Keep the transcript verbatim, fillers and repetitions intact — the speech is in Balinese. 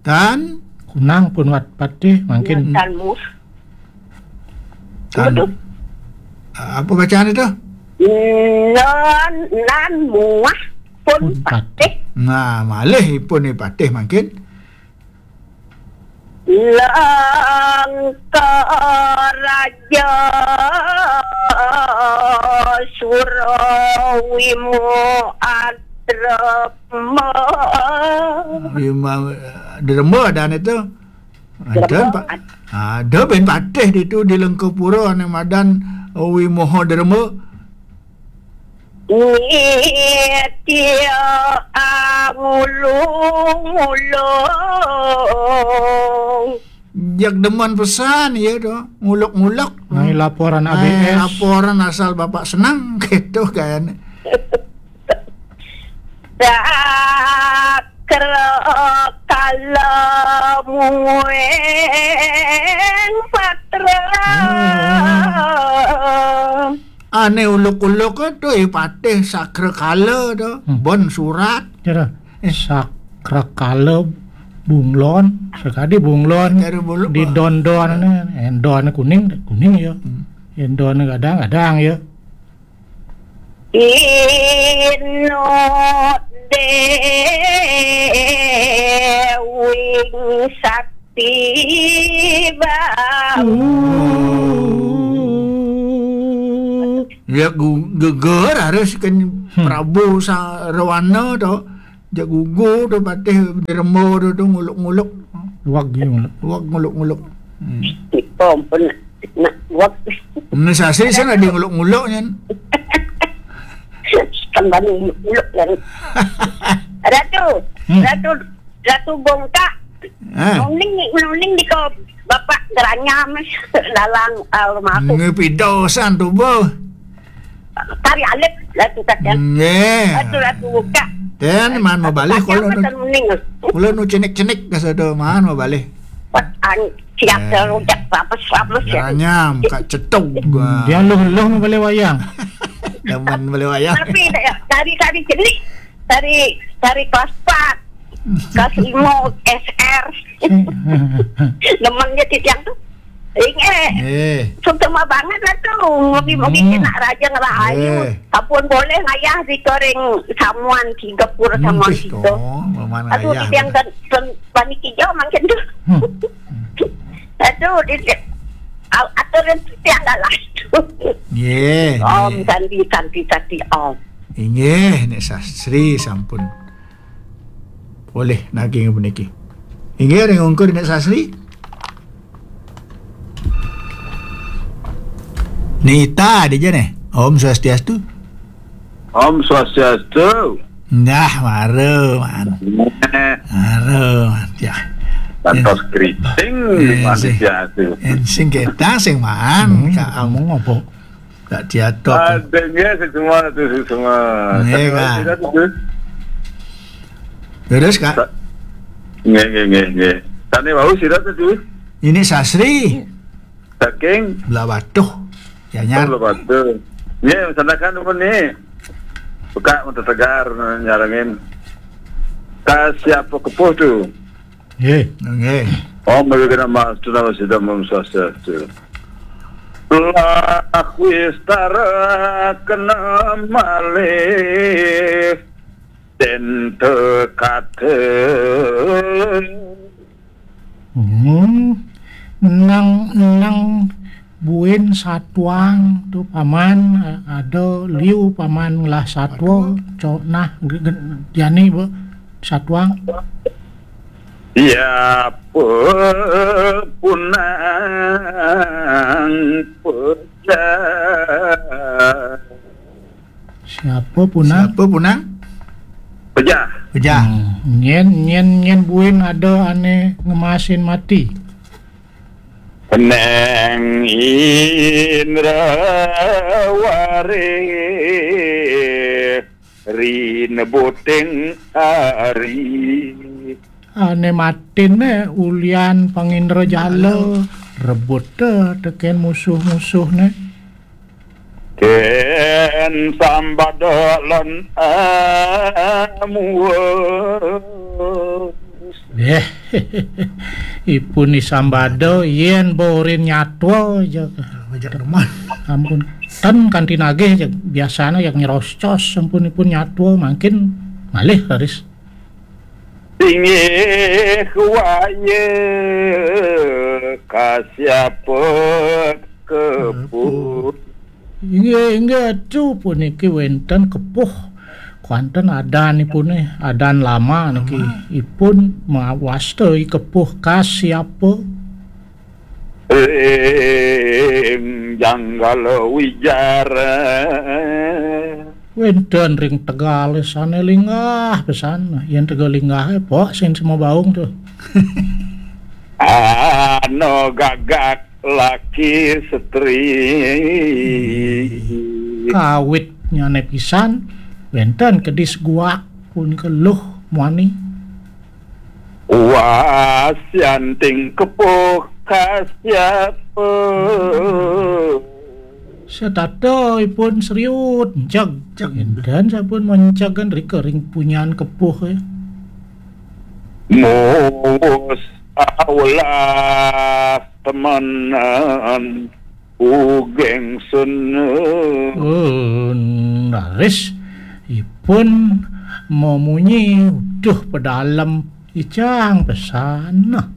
Tan? Kunang pun wat patih mangkin. Tan mus. Tan. Waduh. Apa bacaan itu? Nan, nan muah pun. Pun patih. Patih. Nah, malih ipun patih mangkin. Langka raja Surawimo adrema. Wima, derma adan itu. Ada, Pak. Ada ben patih ditu di Lengkapura ane madan Wimoha Derma. Nitya angulung-ulung. Jak demen pesan ya tu, nguluk-nguluk. Nai laporan A B S. Laporan asal bapak senang gitu kan. Sakra kala mueng patra. Ane uluk-uluk tu, eh, patih sakra kala tu. Hmm. Bon surat. Kira sakra kala bunglon, sekadi bunglon. Kira buluk, di Pak. Don-don ne, endon kuning, kuning ya. Hmm. Endon gadang, gadang ya. Ino dewing sakti bau. Ya, gu-, geger harus kan. Hmm. Prabu Sarawana tu. Jak gugu tu patih derma tu, tu nguluk-nguluk. Wag ya nguluk. Wag nguluk-nguluk. Hmm. Ampun. Nak wag. Ni sasih sana dia nguluk-nguluk nyan. Kembali nguluk-nguluk kan. Ratu, hmm. Ratu, Ratu Bongkak. Ha. Nuning, nuning di ko bapak geranyam dalang almarhum. Ngepidosan tu, bo. Tari alit lah tu kata. Nggih. Atu, atu buka. Ten man mabalih. Kata kalau apa nu, ten muning? Kalau nu cenik-cenik kasa tu man mabalih. Pat an siap. Eh. Terujak rames-rames ya. Geranyam, kak cetuk. Hmm, dia loh-loh mabalih wayang. Demen mabalih wayang. Tapi dari, dari cenik, dari, dari kelas empat. Kelas lima S R. Demen je titiang tu. Inggih. Eh. Sutama banget lah tu. Ngopi-ngopi. Hmm. Kena raja ngerahaya. Eh. Apun boleh ngayah di koreng samuan tiga pura samuan. Empih tiga. Aduh, ngayah. Titiang kan, kan, bani kijau makin tu. Hmm. Aduh, di, au-, atur titiang dah lah tu. Nggih, Om nggih. Santi, Santi, Santi, Om. Inggih, Nek Sastri sampun. Boleh naging puniki. Inggih, ring ungkur Nek Sasri. Nita dija neh. Om Swastiastu. Om Swastiastu. Nah, mara, man. Neh. Mara, man. Ya. Kantos keriting, eh, manusia tu. Sing, sing kita, sing man. Hmm, Kak Am. Ngomong apa? Tak diatok. Ada nggih, sing semua tu, sing semua. Nggih, Kak. Sira tu, Gus. Terus, Kak? Sa-, nggih, nggih, nggih, nggih. Tani wau sira tu, Gus? Ini Sasri. Saking? Belah Batuh. Ya, Nyar. Oh, Belah Batuh. Nggih, sandakan apa ni? Buka mata tegar, nyarengin. Ka siapa kepuh tu? Nggih. Nggih. Om Awighnam Astu Namo Siddham Om Swastiastu. Lah wistara kena malih den tekate. Hmm. Nang, nang buin satuang tu paman, a-, ada liu paman ngelah satwa, co-, nah, ge-, ge-, jani be satuang. Ya, pe-, punang pejah. Siapa punang? Siapa punang? Pejah. Pejah. Hmm, nyen, nyen, nyen buin ada ane ngemasin mati. Keneng Indrawari. Ri nebuting ari. Ane matin ne ulian pangindra jala, rebut te teken musuh-musuh ne. Ken sambada lan amuwes. Eh, ipun isambada yen borin nyatwa, jeg. Ngajak teman. Ampun, ten kanthi nagih, jeg. Biasane, jeg, nyerocos, sampun ipun nyatwa, mangkin malih raris. Inggih waya kasiapa kepuh. Inggih, inggih, atu puniki wenten kepuh. Kuanten adanipune, adan lama niki. Ipun mawasta i kepuh kasiapa. Ring janggala wijara. Wenten ring tegale sane linggah pesan. Yen tegal linggah, eh, pok sing sema baung tuh. Ana gagak laki setri. Kawit nyane pisan, wenten kedis guak punika luh muani. Wasianting kepuh kasiapa. Setata ipun seriut, jeg. Jeg. Enten sampun mencegan rika ring punyan kepuh, eh. Muwus aulah temenan ugeng sena. Oh, raris ipun memunyi uduh pedalem icang pesan. Nah,